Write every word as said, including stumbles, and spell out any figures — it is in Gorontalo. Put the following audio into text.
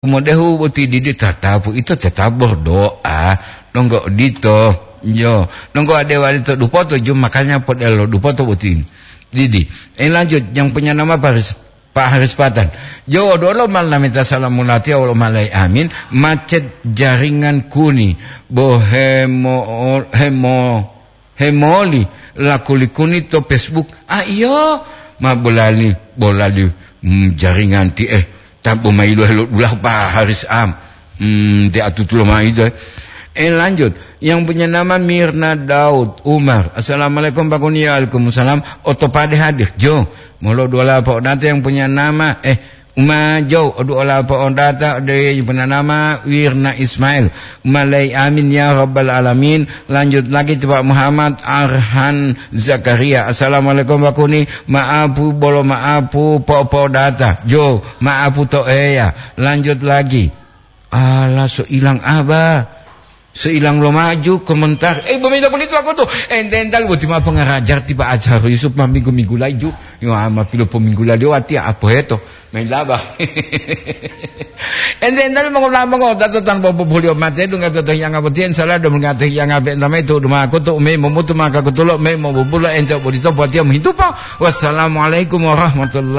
modehu boti didi tatapu, ito tetap berdoa. Donggo odito, yo. Donggo ade walito dupoto, jo, makanya podelo dupoto boti didi. Eh, lanjut, yang punya nama Pak Haris, Pak Haris Patan. Jo, dolo mal namita salam mulati, awal malai amin. Macet jaringan kuni. Bo hemo, hemo, hemoli lakuli kuni to Facebook. Ah, iyo, ma bolali, bolali, mm, jaringan ti, eh, tambo mailu helo dulah Pak Haris am. Hmm, di atutulo maido. Eh, lanjut. Yang punya nama Mirna Daud Umar. Assalamualaikum, Pak Kuni. Waalaikumsalam. Oto pade hadir. Jo. Molo duola Pak Odata yang punya nama, eh, Uma Jo, odu ola Pak Odata, de yang punya nama Wirna Ismail. Malai amin ya rabbal alamin. Lanjut lagi to Pak Muhammad Arhan Zakaria. Assalamualaikum, Pak Kuni. Maapu bolo maapu, Pak Odata. Jo, maapu to eya. Lanjut lagi. Ala, so ilang aba. So ilang lo maju komentar. Eh, bomito pulito aku tu. Ente ental boti ma pengarajar tiba ajar Yusuf ma minggu-minggu laju. Yo ama pilo po minggu laju ati apa heto. Main laba. Ente ental mongo mongo tato tanpa populio mate dunga toto yang apa tien salah do mengate yang apa entame tu duma aku tu me momutu maka kutulo me mo bubulo ente bodito buat dia menghidupa. Wassalamualaikum warahmatullahi